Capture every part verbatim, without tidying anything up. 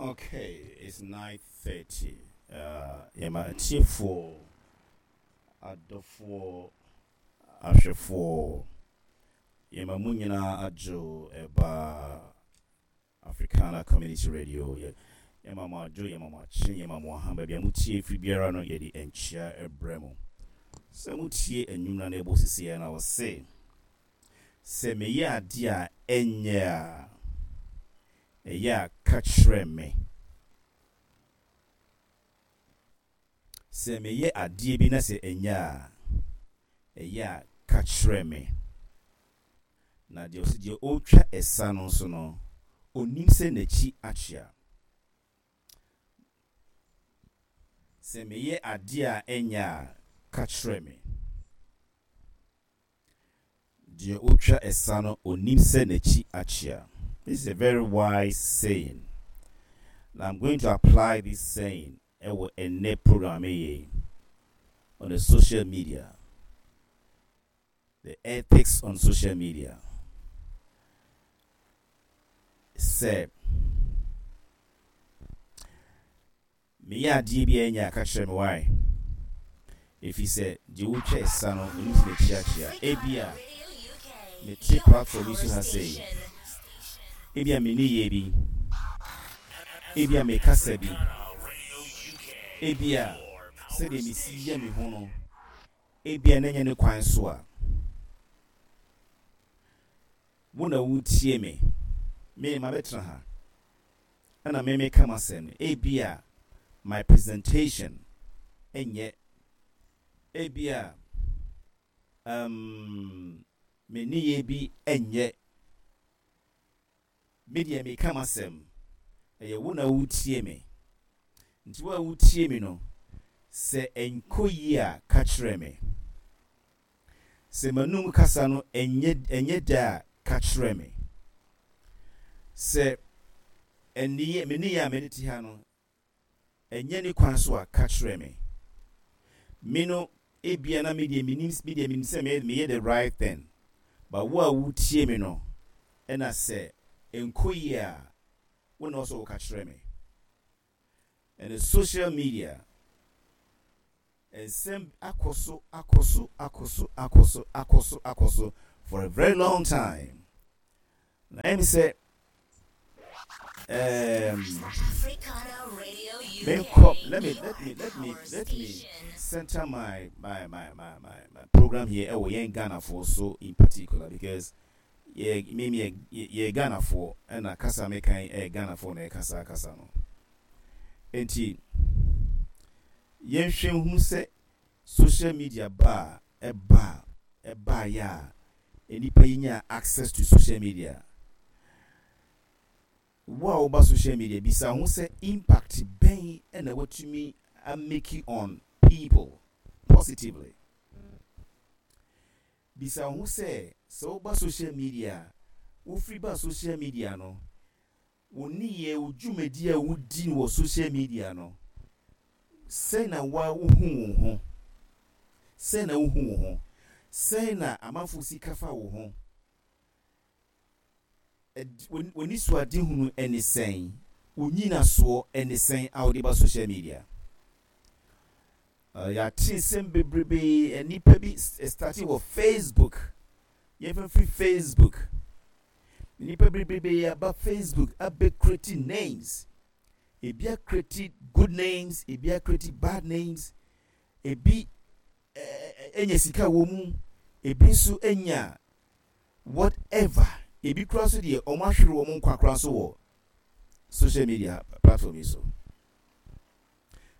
Okay, it's nine thirty. Uh, yɛma atiefoɔ, adɔfoɔ, ahwɛfoɔ, yɛma mu nyinaa adwo ɛba Africana Community Radio. Yɛ yɛma mo adwo, yɛma mo akye, yɛma mo aha baabi a motie firi biara no yɛde nkyia ɛbrɛ mo. Sɛ motie anwum na ɛbɔ sisi na ɔse sɛ meyɛ adeɛ a ɛnyɛ a ɛyɛ a ka kyerɛ me. Sɛ meyɛ adeɛ bi na sɛ ɛnyɛ a ɛyɛ a ka kyerɛ me. Na deɛ ɔsɛ deɛ ɔretwa ɛsa no nso no, onim sɛ n'akyi akyea. Sɛ meyɛ adeɛ a ɛnyɛ a ka kyerɛ me. Deɛ ɔretwa ɛsa no, onim sɛ n'akyi akyea. This is a very wise saying. Now I'm going to apply this saying ɛwɔ ɛnnɛ program yi on the social media. The ethics on social media. Sɛ meyɛ adeɛ bi a ɛnyɛ a ka kyerɛ me why. Ɛfiri sɛ deɛ wotwa ɛsa no onim sɛ n'akyi akyea. Ebia mete platform yi so ha sei. Ebia me nneyɛɛ bi. Ebia me kasa bi. Ebia sɛdeɛ mesi yɛ me ho no. Ebia na ɛnyɛ ne kwan so a. Wo na wotie me. Me ma bɛtena ha. Ɛna me meka m'asɛm no. Ebia my presentation ɛnyɛ. Ebia um, me nneyɛɛ bi ɛnyɛ. Me deɛ meka m'asɛm. Ɛyɛ wo na wotie me. Nti wo a wotie me no, sɛ ɛnkɔ yie a ka kyerɛ me. Sɛ m'anum kasa no ɛnyɛ ɛnyɛ da a ka kyerɛ me. Sɛ ɛneyɛ me nneyɛɛ a mede te ha no ɛnyɛ ne kwan so a ka kyerɛ me. Me no ebia na me deɛ menim me deɛ menim sɛ meyɛ meyɛ the right thing. But wo a wotie me no ɛna sɛ ɛnkɔ yie a wo na ɔsɛ woka kyerɛ me. Ɛne social media nsɛm akɔ so akɔ so akɔ so akɔ so akɔ so akɔ so for a very long time. Na ɛmi sɛ um, Africana Radio U K. menkɔ let me let me let me let me center my my my my my, my program here ɛwɔ yɛn Ghanafoɔ so in particular because yɛ me me yɛ yɛ Ghanafoɔ ɛna kasa mekan ɛyɛ Ghanafoɔ na ɛkasa kasa no. Nti yɛnhwɛ hu sɛ social media ba a ɛba ɛbaeɛ a nnipa yi nya access to social media. Wo a woba social media bisa ho sɛ impact bɛn ɛna watumi amake on people positively. Bisa ho sɛ sɛ woba social media a wofiri ba social media no wo nneyɛɛ wo dwumadi a wodi no wɔ social media no sɛn na wa wohu wo ho, sɛn na wohu wo ho, sɛn na amanfo si ka fa wo ho, w'ani so ade hunu ɛne sɛn, wo nyinasoɔ ɛne sɛn a wode ba social media. Uh, yɛate nsɛm bebrebe nnipa bi start wɔ Facebook. Yɛmfa firi Facebook. Nnipa bebrebe aba Facebook abɛ create names. Ebi acreate good names, ebi acreate bad names, ebi enya sika wɔ mu, ebi nso enya whatever. Ebi kura so deɛ ɔmo ahwere wɔn nkwa kora so wɔ social media platform yi so.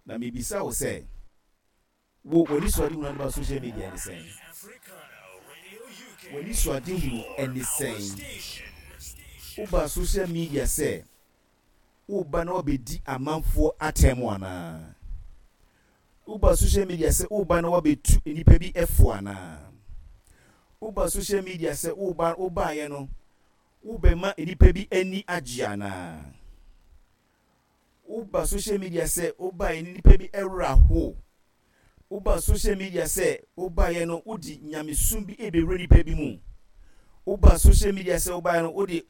Na mebisa wo sɛ wo w'ani so ade hunu ade ba social media ne sɛn? W'ani so ade hunu ɛne sɛn? Woba social media sɛ woba na wabɛdi amanfoɔ atɛm anaa? Woba social media sɛ woba na wabɛtu nnipa bi ɛfo anaa? Woba social media sɛ woba wobaeɛ no wobɛma nnipa bi ani agye anaa? Woba social media sɛ wobaeɛ no nnipa bi ɛwerɛ ho? Woba social media sɛ wobaeɛ no wode nyamesom bi ɛbɛwura nnipa bi mu? Woba social media sɛ wobaeɛ no wode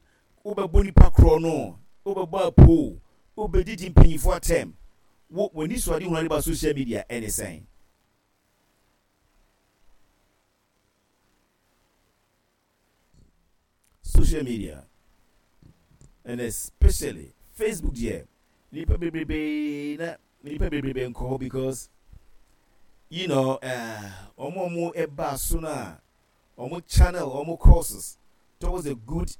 wobɛbɔ nipa korɔ no, wobɛbɔ apo, Wobɛdidi mpanyinfoɔ atɛm. Wo w'ani so ade hunu ade ba social media ɛne sɛn? Social media and especially Facebook deɛ, nipa bebrebe na nipa bebrebe nkɔ hɔ because you know wɔn a wɔn ɛba so no a wɔn channel wɔn courses towards the good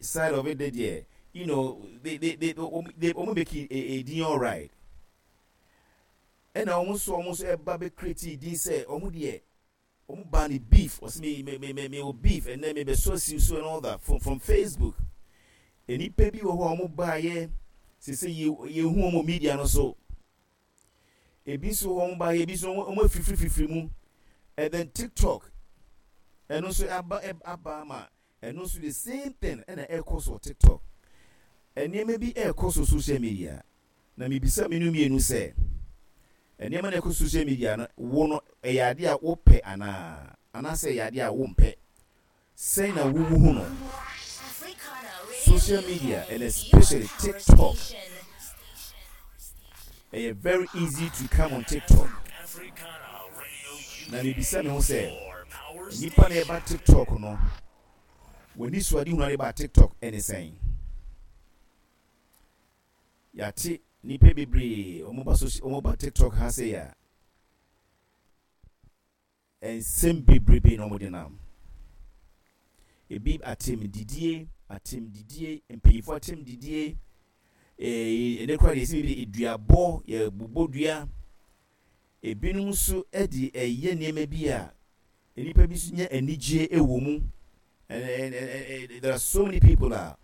side of it deɛ, you know they they they wɔn they wɔn make it a din alright. Ɛna wɔn nso wɔn nso ɛba bɛ create din sɛ wɔn deɛ wɔn ba ne beef, wɔsi me me me me me wɔ beef, ɛnɛ me bɛ so asiw so and all that from from Facebook. Nnipa bi wɔ hɔ a wɔn baayɛ sese yɛ yɛhu wɔn media no so. Ebi nso wɔ wɔn baayɛ, ebi nso wɔn afifiri mu. And then TikTok, ɛno nso aba aba ama ɛno nso the same thing ɛna ɛkɔ so wɔ TikTok. Nneɛma bi ɛrekɔ so social media, na mibisa mmienu mmienu sɛ, nneɛma na ɛkɔ social media no, wo no, ɛyɛ adeɛ a wopɛ anaa, anaasɛ ɛyɛ adeɛ a wompɛ? Sɛn na wowu hu no? Africana Radio Social media U K, and especially your power TikTok, station. ɛyɛ very easy to come on TikTok. Na mibisa me ho sɛ, nipa na ɛba TikTok no, w'ani so ade hunu ade ba TikTok ɛne sɛn? Yɛate nipa bebree wɔn ba social, wɔn ba TikTok ha sɛ a, nsɛm bebrebe na wɔde nam. Ebi atɛmdidie, atɛmdidie, mpanyinfoɔ atɛmdidie, ɛɛ ɛnɛ koraa deɛ yɛsi bi eduabɔ, yɛbobɔ dua. Ebinom nso de ɛyɛ nneɛma bi a nnipa bi nso nya anigye wɔ mu. And, and, and, and there are so many people a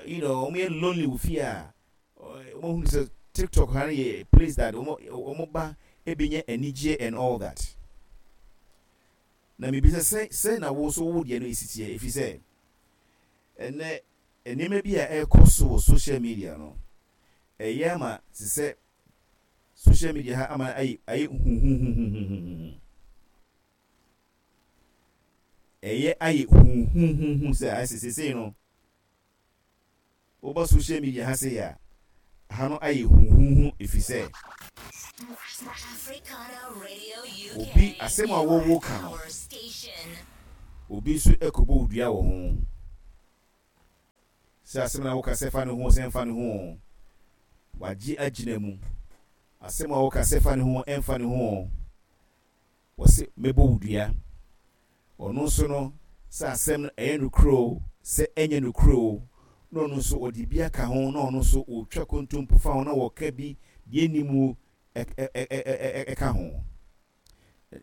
you know wɔn yɛ lonely wɔ fie a wɔn hu sɛ TikTok ha no yɛ place that wɔn wɔn ba ebenya anigye and all that. Na mibisa sɛ, sɛ na wo nso wo deɛ no esi teɛ? Efi sɛ ɛnɛ nneɛma bi a ɛrekɔ so wɔ social media no, ɛyɛ ama te sɛ social media ha ama ayɛ ayɛ huhuhuhuhuhu, ɛyɛ ayɛ huhuhuhu sɛ ayɛ sɛ sesei no woba social media ha sɛ a, ha no ayɛ huhuhu, efi sɛ Africana Radio U K, obi asɛm a your wɔwɔ ka no, power station. Obi nso ɛkɔbɔ wo dua wɔ ho sɛ asɛm na woka sɛ fa ne ho, sɛ mfa ne ho, wagye agyina mu. Asɛm a woka sɛ fa ne ho, ɛmfa ne ho, wɔse mɛbɔ wo dua. Ɔno nso no, sɛ asɛm no ɛyɛ nokorɛ o, sɛ ɛnyɛ nokorɛ o, na ɔno nso ɔde bi aka ho, na ɔno nso ɔtwa kontompo fa ho na wɔka bi deɛ ɛni mu ɛka ho.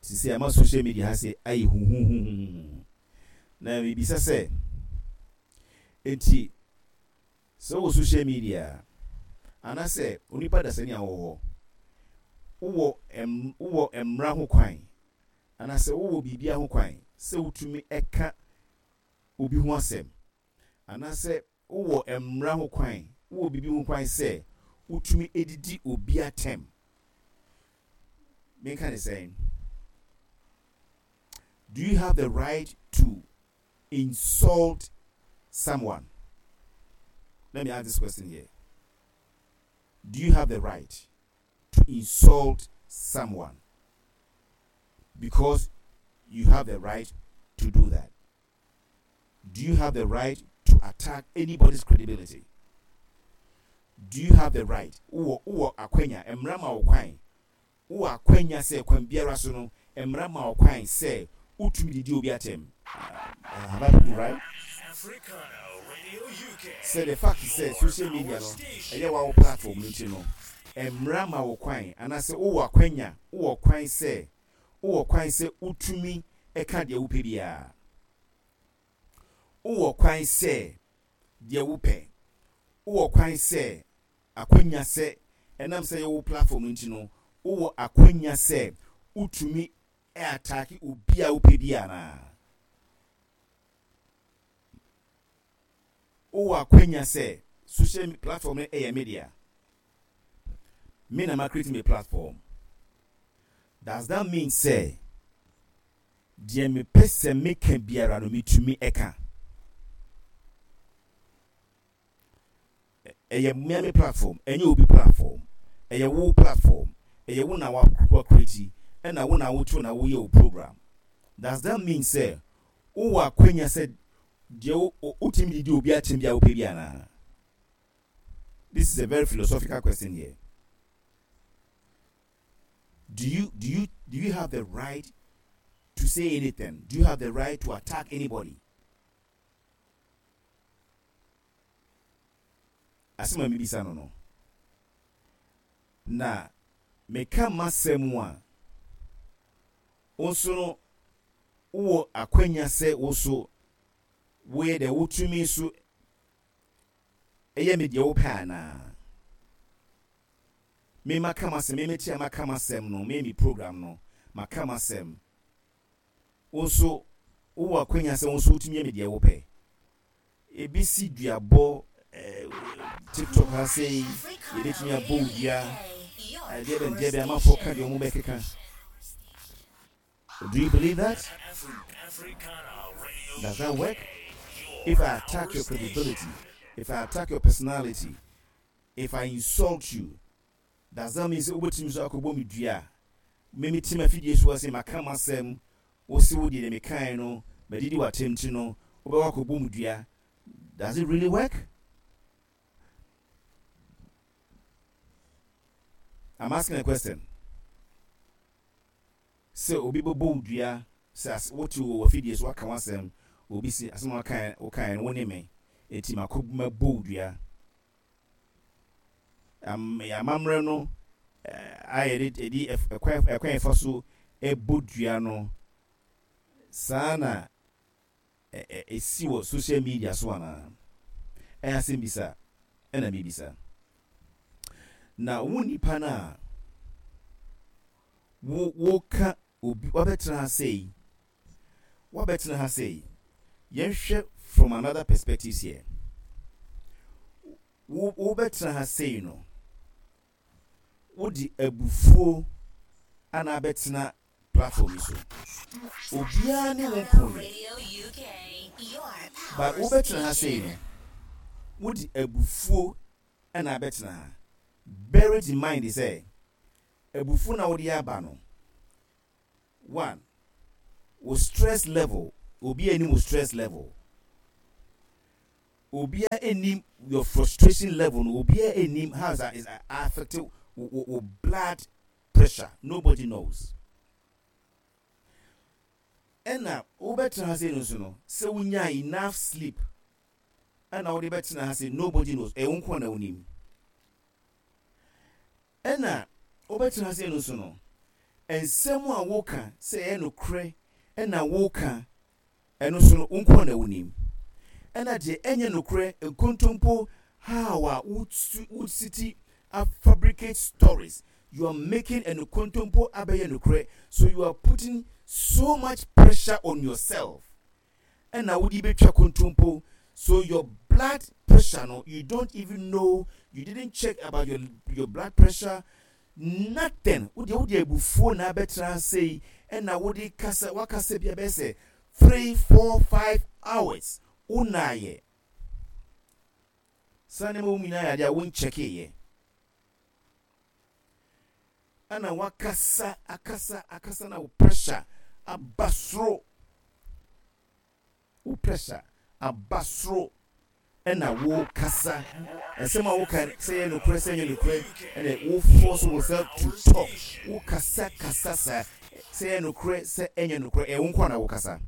Sisi ama social media ha sɛ ayɛ huhuhuhuhu. Na mebisa sɛ, enti sɛ wɔ social media anaasɛ onipa dasani a wɔwɔ hɔ, wowɔ wowɔ mmara ho kwan anaasɛ wowɔ biribi ho kwan sɛ wotumi ɛka obi ho asɛm, anaasɛ wowɔ mmara ho kwan, wowɔ biribi ho kwan sɛ wotumi edidi obi atɛm? Menka ne sɛn? Do you have the right to insult someone? Let me ask this question here. Do you have the right to insult someone? Because you have the right to do that. Do you have the right to attack anybody's credibility? Do you have the right? Wowɔ wowɔ akwanya, mmara ma wo kwan. Wowɔ akwanya sɛ kwan biara so no, mmara ma wo kwan sɛ wotumi didi obi atɛm. Uh, have I put it right? Sɛ the fact sɛ social media no ɛyɛ wawo platform no nti no, mmara ma wo kwan anaasɛ wowɔ akwanya, wowɔ kwan sɛ wowɔ kwan sɛ wotumi ɛka deɛ wopɛ biara. Wowɔ kwan sɛ deɛ wopɛ, wowɔ kwan sɛ akwanya sɛ ɛnam sɛ yɛwɔ platform no nti no, wowɔ akwanya sɛ wotumi attack obi a wopɛ bi anaa? Wowɔ akwanya sɛ social platform no ɛyɛ media, me na ma create me platform, does that mean sɛ deɛ mepɛ sɛ meka biara no metumi ɛka? Ɛyɛ me platform, ɛnyɛ obi platform. Ɛyɛ wo platform, ɛyɛ wo na wa create, ɛna wo na woto na woyɛ wo program. Does that mean sɛ wowɔ akwanya sɛ deɛ wotumi didi obi akyɛm bi a wopɛ bi anaa? This is a very philosophical question here. Do you do you do you have the right to say anything? Do you have the right to attack anybody? Asɛm a mebisa no no na meka m'asɛm a, wo nso no wowɔ akwanya sɛ wo so woyɛ deɛ wotumi so ɛyɛ me deɛ wopɛ anaa? Me maka m'asɛm, me meti a maka m'asɛm no, me mi program no maka m'asɛm, wo nso wowɔ akwanya sɛ wo nso wotumi yɛ me deɛ wopɛ. Ebi si duabɔ ɛɛ TikTok ha sei, yɛbɛtumi abɔ wo dua, adeɛ bɛn deɛ bɛn, amanfoɔ ka deɛ wɔn bɛkeka. Do you believe that? Does that work? If I attack your credibility, if I attack your personality, if I insult you, does that mean sɛ wobɛtumi so akɔbɔ me dua? Me me tim afidie so ase maka m'asɛm, wo se wo deɛ deɛ mekae no madidi w'atɛm ti no, wobɛwɔ akɔbɔ mu dua. Does it really work? I'm asking a question. Sɛ obi bɛbɔ wo dua sɛ wote wɔ afidie so waka w'asɛm, obi si asɛm a wokae wokae no, wo ne me eti makɔ mɛbɔ wo dua. Am amammerɛ no a yɛde yɛde ɛkwan ɛkwan yɛfa so ɛbɔ dua no saa na ɛsi wɔ social media so anaa? Ɛyɛ asɛm bisa ɛna mebisa. Na wo nipa no a wo woka obi wabɛtena ha sei, wabɛtena ha sei, yɛnhwɛ from another perspective here. Wo wobɛtena ha sei no, wode abufuo ana abɛtena platform yi so. Obiara ne wo nkoyɛ, but wobɛtena ha sei no, wode abufuo ana abɛtena ha. Bear it in mind sɛ abufuo na wode aba no, one, wo stress level, obiara anim wo stress level, obiara anim your frustration level no, obiara anim how is that is affect wo wo blood pressure. Nobody knows. Ɛna wobɛtena ha sei no nso no, sɛ wonya enough sleep ɛna wode bɛtena ha sei, nobody knows. Ɛwo nko na wonim. Ɛna wobɛtena ha sei no nso no, nsɛm a woka sɛ ɛyɛ nokorɛ ɛna woka, ɛno nso no wo nko na wonim. Ɛna deɛ ɛnyɛ nokorɛ, nkontompo, how a wositi a fabricate stories, you are making a nkontompo abɛyɛ nokorɛ, so you are putting so much pressure on yourself ɛna wode bɛtwa kontompo. So your blood pressure no, you don't even know, you didn't check about your your blood pressure, nothing. Wode wode abufuo na abɛtena sei ɛna wode kasa, wakasa bi abɛyɛ sɛ three four five hours, wonaayɛ saa nneɛma wo nyinaa yɛ adeɛ a wonkyɛkeeɛ, ɛna wakasa akasa akasa na wo pressure aba soro, wo pressure aba soro, ɛna wo kasa nsɛm a woka sɛ yɛ nokorɛ sɛ nyɛ nokorɛ, ɛna wo force yourself to talk. Wo kasa kasa sa sɛ yɛ nokorɛ sɛ ɛnyɛ nokorɛ, ɛyɛ wo nko na wo kasa,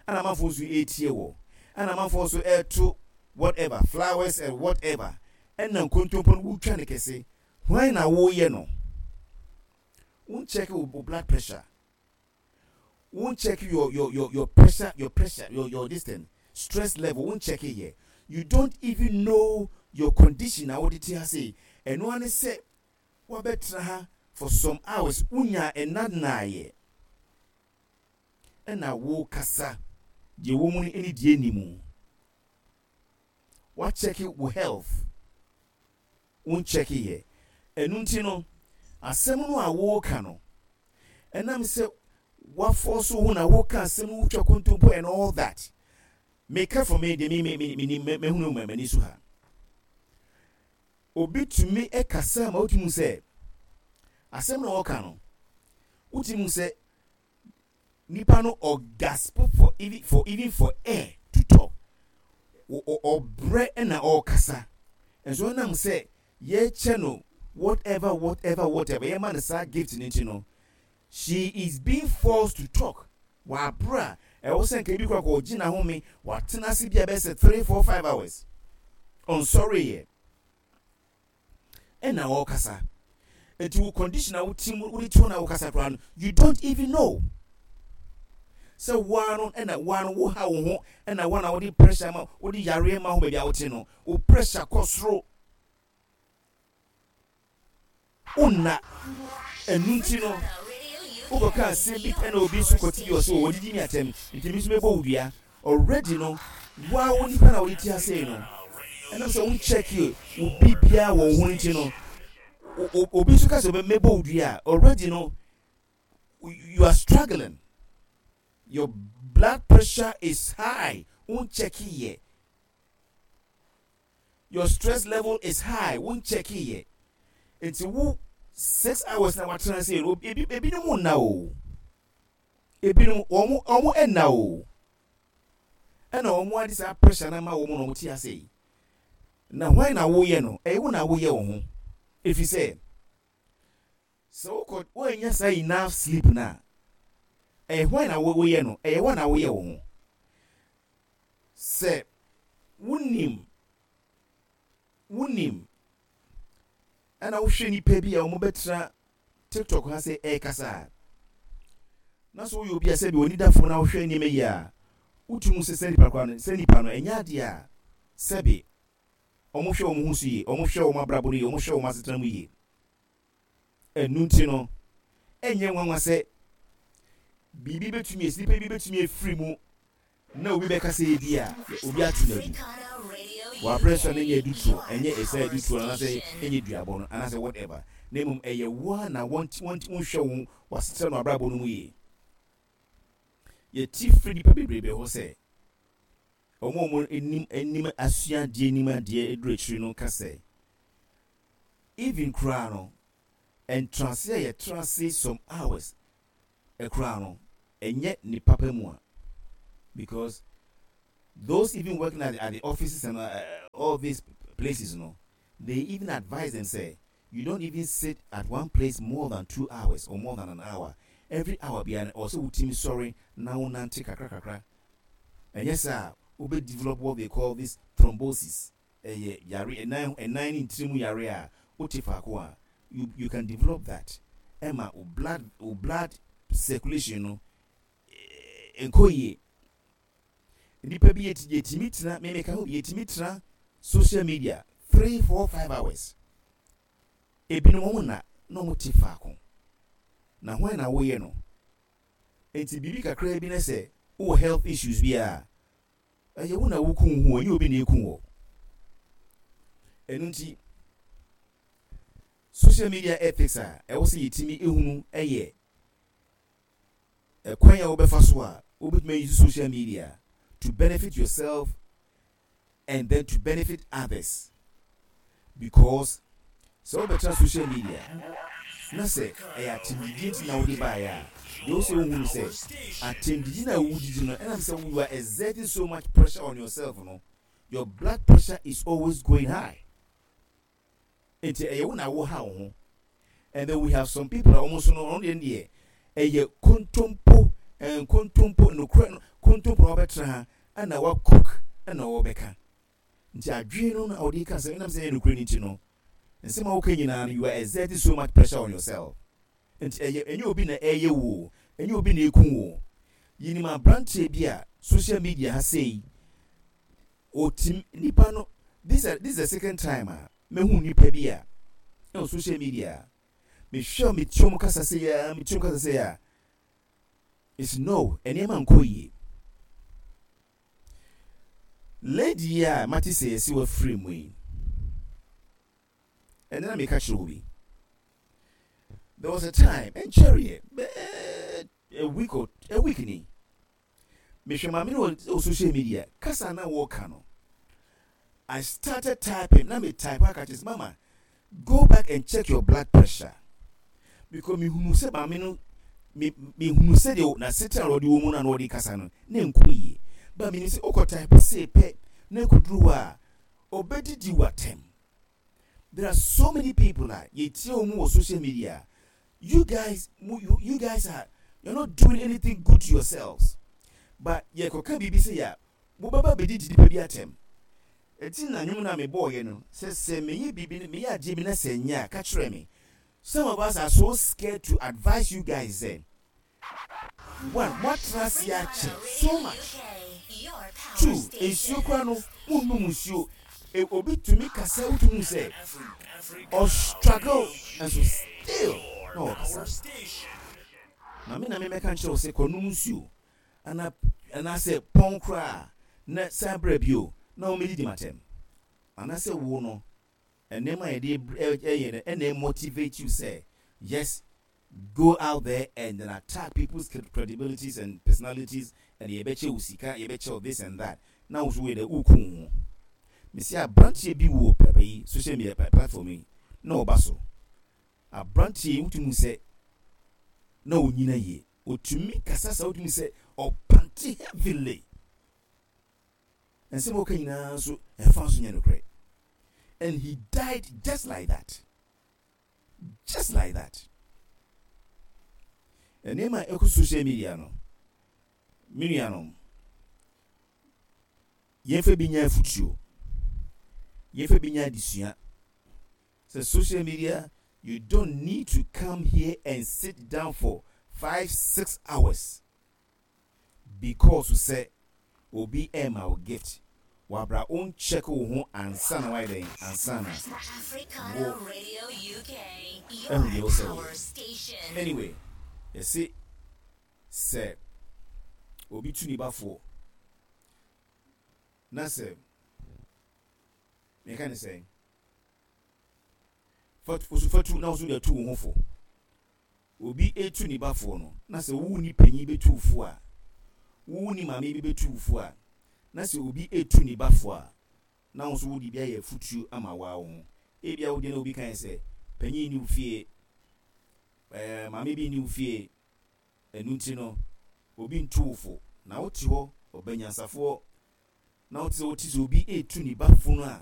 ɛna amanfoɔ nso ɛretie wɔ, ɛna amanfoɔ nso ɛreto whatever flowers and whatever, ɛna nkontompo no wotwa ne kɛse. Hwan na woyɛ no? Won check wo blood pressure, won check your your your your pressure, your pressure, your your this thing, stress level, won check yɛ. You don't even know your condition na wode te ha sei. Ɛno ara ne sɛ wabɛtena ha for some hours, wonya ɛna naayɛ, ɛna wo kasa deɛ wɔ mu no ɛne deɛ ni mu. Wakyɛke wo health, wonkyɛke yɛ. Ɛno nti no, asɛm no a wɔreka no, ɛnam sɛ wafɔ so ho na wɔka asɛm no, wotwa kontompo and all that. Meka for me deɛ, me me me me mehunu m'ani so ha. Obi tumi kasa ma wotumi sɛ asɛm na ɔka no, wotumi sɛ nipa no ɔgasp for even for even for air to talk. Ɔbrɛ ɛna ɔrekasa, nso ɛnam sɛ yɛkyɛ no whatever, whatever, whatever, yɛma no saa gift no nti no, she is being forced to talk. Wabra ɛwɔ sɛ nka ebi kora kɔ ɔgye n'ahome, watena ase bi a bɛyɛ sɛ three, four, five hours, ɔnsɔre yɛ ɛna ɔrekasa. Nti wo condition a wote mu, wode to na wokasa koraa no, you don't even know sɛ woa no ɛna woa no woha wo ho, ɛna woa na wode pressure ma wode yareɛ ma ho. Baabi a wote no, wo pressure kɔ soro, wonna. Ɛnu nti no wokɔka asɛm bi ɛna obi nso kɔte bi, ɔsɛ wɔdidi mi atɛm, nti mi nso mɛbɔ wo dua. Already no, woa wo nipa na wode ti ase no, ɛnam sɛ wonkyɛke wo biribiara wɔ wo ho nti no, obi nso ka sɛ mɛbɔ wo dua a, already no you are struggling, your blood pressure is high, wonkyɛke yɛ, your stress level is high, wonkyɛke yɛ. Nti wo six hours na watena se no, ebi ebinom nna o, ebinom wɔn wɔn nna o, ɛna wɔn ade saa pressure na ma wɔn na wɔn te ase yi. Na hwan na woyɛ no? Ɛyɛ wo na woyɛ wo ho, efi sɛ sɛ wokɔ wɔanya saa enough sleep na ɛyɛ hwan na woyɛ no? Ɛyɛ wo na woyɛ wo ho. Sɛ wonim wonim ɛna wohwɛ nipa bi a wɔn bɛtena TikTok ha sɛ ɛrekasa a, na so woyɛ obi a sɛbi wɔn dafo na wohwɛ nneɛma yi a, wotumi sɛ sɛ nipa kora no, sɛ nipa no ɛnyɛ adeɛ a sɛbi wɔn hwɛ wɔn ho so yie, wɔn hwɛ wɔn abrabɔ no yie, wɔn hwɛ wɔn asetena mu yie. Ɛnu nti no, ɛnyɛ nwanwa sɛ biribi bɛtumi esi, nipa bi bɛtumi efiri mu na obi bɛka sɛ ebi a obi ato n'adu wɔ so a, n'nyɛ adutoɔ, ɛnyɛ ɛsɛ adutoɔ anaasɛ ɛnyɛ duabɔ no anaasɛ whatever, na mmom ɛyɛ woa na wɔn wɔn wɔnhwɛ wɔn wɔasetena no abrabɔ no mu yie. Yɛti firi nipa bebrebe hɔ sɛ wɔn a wɔn anim anim asua adeɛ, anim adeɛ eduru akyiri no ka sɛ even koraa no, ntenase a yɛtena ase some hours ɛkoraa no, ɛnyɛ ne papa mu a, because those even working at the, at the offices and uh, all these places no, they even advise them say you don't even sit at one place more than two hours or more than an hour. Every hour biara ɔsɛ wotumi sɔre na wonante kakra kakra. Ɛnyɛ sɛ a wobɛ develop what they call this thrombosis. Ɛyɛ yare ɛnan ɛnan ne ntiri mu yare a wote faako a, you you can develop that. Ɛma o blood o blood circulation no nkɔ yie. Nipa bi yɛtumi tena, mímika ho bi, yɛtumi tena social media three, four, five hours. Ebinom wɔn na na wɔn te faako na hwan na wɔyɛ no? Nti biribi kakra bi na sɛ wowɔ health issues bi a, ɛyɛ wo na woku ho, ɛnyɛ obi na eku wɔ. Ɛno nti social media ethics a ɛwɔ sɛ yɛtumi ehunu ɛyɛ ɛkwan a wobɛfa so a wobɛtumi ayi social media to benefit yourself and then to benefit others, because sɛ wobɛtena social media na sɛ ɛyɛ atɛmdidie nti na wode baeɛ a, deɛ wo sɛ wohu no sɛ atɛmdidi na wodidi no, ɛnam sɛ you are exerting so much pressure on yourself no, your blood pressure is always going high. Nti ɛyɛ wo na wo ha wo ho. And then we have some people a wɔn nso no, ɔno deɛ deɛ ɛyɛ kontompo, nkontompo, nokorɛ no kontompo na wɔbɛtena ha ɛna wa cook ɛna wɔbɛka. Nti adwene no na ɔde ka sɛ ɛnam sɛ ɛyɛ nokorɛ no nti no, nsɛm a woka nyinaa no, you are exerting so much pressure on yourself. Nti ɛyɛ ɛnyɛ obi na ɛyɛ wo, ɛnyɛ obi na eku wo. Yinim aberanteɛ bi a social media ha sei otim nipa no. this is this is the second time a mehu nipa bi a ɛwɔ social media. Mehwɛ, metie mu kasa sɛ ya, metie mu kasa sɛ ya, it's no nneɛma nkɔ yie. Lady yi a mate sɛ yɛsi wafiri mu yi, ɛnna na meka kyerɛ obi, there was a time ɛnkyɛreɛ, bɛɛ a week or a week ni, mehwɛ maame no wɔ social media, kasa na wɔka no, I started typing na me type aka kyerɛ sɛ, "Mama, Go back and check your blood pressure, because mehunu sɛ maame no, me mehunu sɛ deɛ n'asetena a ɔde wɔ mu no a na ɔde kasa no na nkɔ yie, ba menim sɛ wokɔ type sei pɛ na ɛkɔduru hɔ a, ɔbɛdidi w'atɛm. There are so many people a yɛtie wɔn wɔ social media. You guys, you, you guys are, you're not doing anything good to yourselves, but yɛkɔka biribi sɛ yɛ a, mobɛba bɛdidi nipa bi atɛm. Ɛti na nnwom no a mebɔɔyɛ no sɛ sɛ meyɛ biribi no, meyɛ adeɛ bi na sɛ nyɛ a, ka kyerɛ me. Some of us are so scared to advise you guys sɛ one, moatena ase akyɛ so much. Two, nsuo kora no, monnom nsuo. E, obi tumi kasa, wotumi hu sɛ ɔstruggle, nso still na ɔkasa. Na me na memɛka nkyerɛ wo sɛ kɔnom nsuo ana anaasɛ pɔn koraa na san brɛ bio na wɔmɛdidi matɛm, anaasɛ wo no, nneɛma a yɛde ɛyɛ no ɛna motivate you sɛ yes, go out there and then attack people's credibilities and personalities, and yɛbɛkyɛ wo sika, yɛbɛkyɛ wo this and that, na wo so woyɛ dɛ woku wo ho. Mesi aberanteɛ bi wɔ pɛpɛ yi, social media platform yi na ɔba so. Aberanteɛ yi, wotumi sɛ na onyina yie, otumi kasa sa, wotumi sɛ ɔpante heavily. Nsɛm a ɔka nyinaa nso ɛfa nso nyɛ nokorɛ, and he died just like that, just like that. Nneɛma a ɛkɔ social media no, me nuanom, yɛmfa bi nya afutuo, yɛmfa bi nya adesua sɛ social media, you don't need to come here and sit down for five six hours because sɛ obi ɛma wo gift, wabra woncheck wo ho ansa na wayɛ dɛn, ansa na Africana Radio U K, your ɛhu deɛ wo sɛ power woyɛ. station. Anyway, yɛse sɛ obi tu ne bafoɔ na sɛ meka ne sɛ fatu fatu na wo so de atu wo ho fo. Obi etu ne bafoɔ no na sɛ wo ni panyin bɛtu wo fo a, wo ni maame bi bɛtu wo fo a, na sɛ obi etu ne bafoɔ a, na wo nso wode bi ayɛ afutuo ama waa wo ho. Ebia wo deɛ na obi kan sɛ panyin ni wo fie, ɛɛ maame bi ni wo fie, ɛnu nti no obi ntu wo fo, na wote hɔ ɔbɛnyansafoɔ na wote sɛ wote sɛ obi etu ne bafo no a